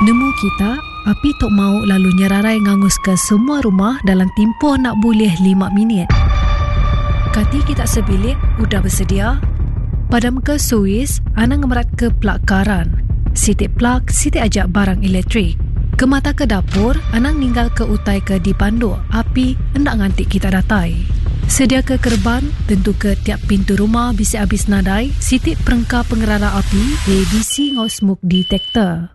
Nemu kita, api tu mau lalu nyerarai nganguska semua rumah dalam timpuh enda bulih lima minit. Kati kita sebilik udah besedia? Padamka suis, anang ngemeratka plug karan. Siti plug, siti aja barang elektrik. Kemataka dapur, anang ninggalka utai ke dipanduk api enda nganti kita datai. Sediaka kereban, tentuka tiap pintu rumah bisi abis nadai siti perengka pengerara api, ABC enggau smoke detector.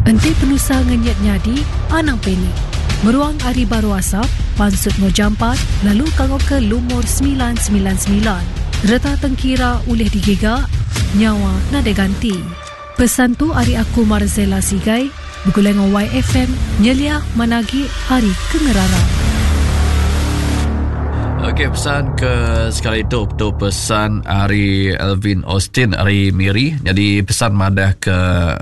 Enti penusah ngenyit nyadi, anang panik. Meruang ari baruh asap, pansut enggau jampat lalu kangauka lumur 999. Reta tengkira ulih digiga, nyawa nadai ganti. Pesan tu ari aku Marzella Sigai begulai enggau YFM nyeliah manah agi ari ke ngerara. Okey pesan ke sekali tu tu pesan ari Alvin Austin ari Miri. Jadi pesan madah ke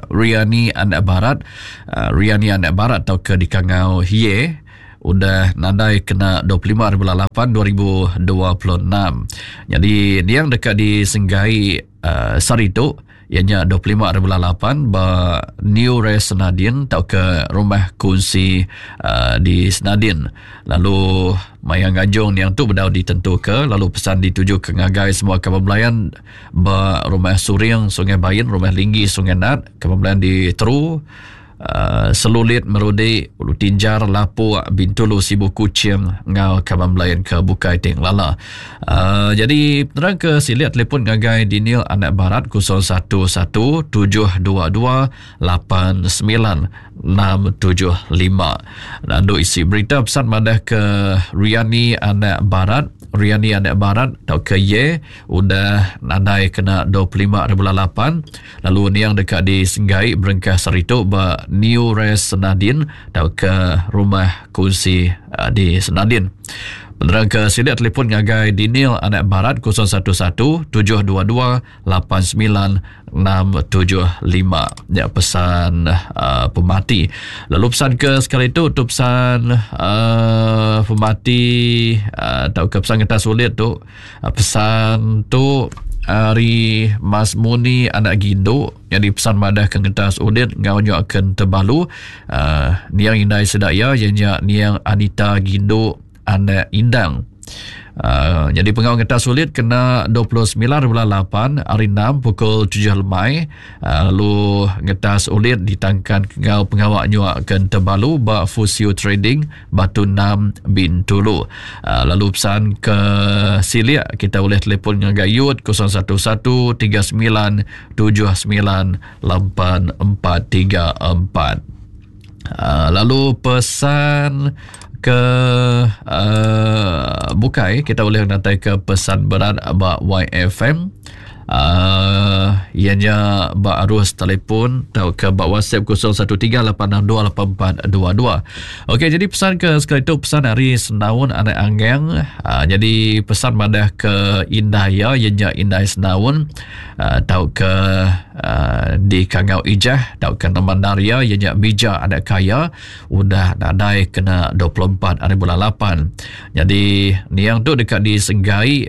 Riani anak barat, uh, Riani anak barat atau ke dikangau Hie udah nadai kena 25 hari bulan 8 2026. Jadi niang dekat disenggai uh, sehari tu iya nya 25 hari bulan 8 ba New Rest Senadin tauka rumah kunsi uh, di Senadin. Lalu maya ngajung niang tu bedau ditentuka lalu pesan dituju ke ngagai semua kaban belayan ba rumah Suring Sungai Bain, rumah Linggi Sungai Nat, kaban belayan di Teru Uh, Selulit Merudi, Ulu Tinjar, Lapuk, Bintulu, Sibu Kuching enggau kaban belayan ke bukai ti ngelala. Uh, jadi penerang ke silik telefon ngagai Daniel Anak Barat 011 722 89675. Lalu isi berita pesan madah ke Riani Anak Barat, Riani Anak Barat atau ke Ye udah nadai kena 25 hari bulan 8 Lalu niang deka disenggai berengkah sehari tu ba New Rest Senadin tauka Rumah Kunsi eh, di Senadin. Penerang ke silik telefon ngagai Daniel Anak Barat 011 722 89675. Ya pesan uh, pemati. Lalu pesan ke sekali tu tu pesan uh, pemati uh, tauka pesan kita sulit tu Pesan tu ari Mas Muni anak Gindu nyadi pesan madah ke ngentas udit enggau nya ke Tebalu uh, niang indai sida iya iya nya niang Anita Gindu anak Indang. Uh, jadi pengau ngetas sulit kena 29 bulan 8 hari 6 pukul 7 lemai uh, lalu ngetas ulit ditangkan ngau pengawa nyuak ke Tebalu ba Fusio Trading Batu 6 Bintulu. Uh, lalu pesan ke Silik kita boleh telefon ngagai Yud 011 39 79 8434. Uh, lalu pesan ke uh, bukai kita boleh nantai ke pesan berat ba YFM uh, ianya ba arus telefon atau ke ba WhatsApp 0138628422. Okey, jadi pesan ke sekali tu pesan hari Senaun anak Angeng. Uh, jadi pesan madah ke Indah ya ianya Indah Senaun uh, atau ke uh, di Kangau Ijah atau ke nama Naria ianya Bija anak Kaya udah nadai kena 24 hari bulan 8. Jadi niang tu dekat disenggai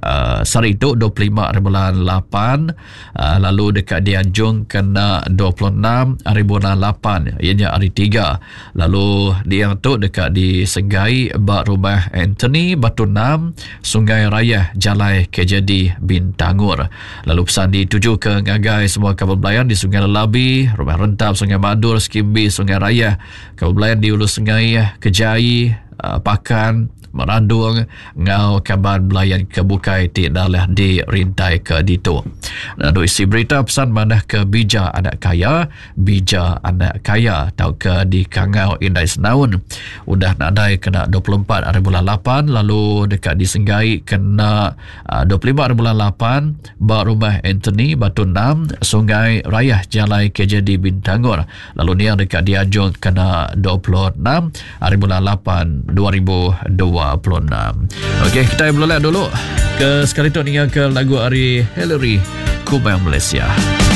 uh, sehari tu 25 hari bulan 8 uh, lalu dekat dianjung kena 26 hari bulan 8 ianya hari 3. Lalu niang tu dekat disenggai ba rumah Anthony Batu 6 Sungai Raya Jalai KJD Bintangor. Lalu pesan dituju ke ngagai semua kaban belayan di Sungai Lelabi, Rumah Rentap, Sungai Madur, Skimbi, Sungai Raya, kaban belayan di Ulu Sungai Kejai, eh, Pakan, Merandung enggau kaban belayan ke bukai ti dalah dirintai ke ditu. Lalu isi berita pesan madah ke bija anak kaya, bija anak kaya tauka dikangau indai senaun udah nadai kena 24 hari bulan 8 lalu deka disenggai kena 25 hari bulan 8 ba rumah Anthony Batu 6 Sungai Rayah Jalai KJD Bintangor lalu niang deka dianjung kena 26 hari bulan 8 2026. Okey, kita berlelak dulu ke sekali tu ninga ke lagu ari Hillary Kubang Malaysia.